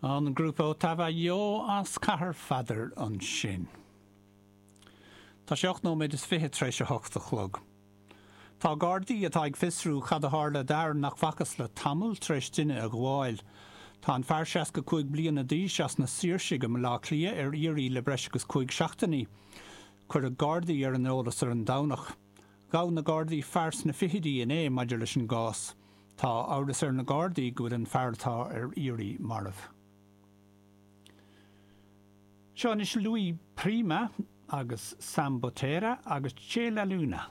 An grúpa Ottava Io as Cathair Pheadair ansin. Tá sé 8 nóiméad is 20 tar éis a hocht a chlog. Tá Gardaí atá ag fiosrú cad a tharla d'fhear nach bhfacthas le tamall tar éis duine a ghabháil. Tá an fear 65 bliana d'aois as na Saoirsigh i mBaile Átha Cliath ar iarraidh le breis agus 5 seachtainí. Cuireadh Gardaí ar an eolas ar an Domhnach. Ghabh na Gardaí fear sna fichidí inné maidir leis an gcás. Tá amhras ar na Gardaí go bhfuil an fear atá ar iarraidh marbh. Seo anois Louis Prima agus Sam Butera agus Che La Luna.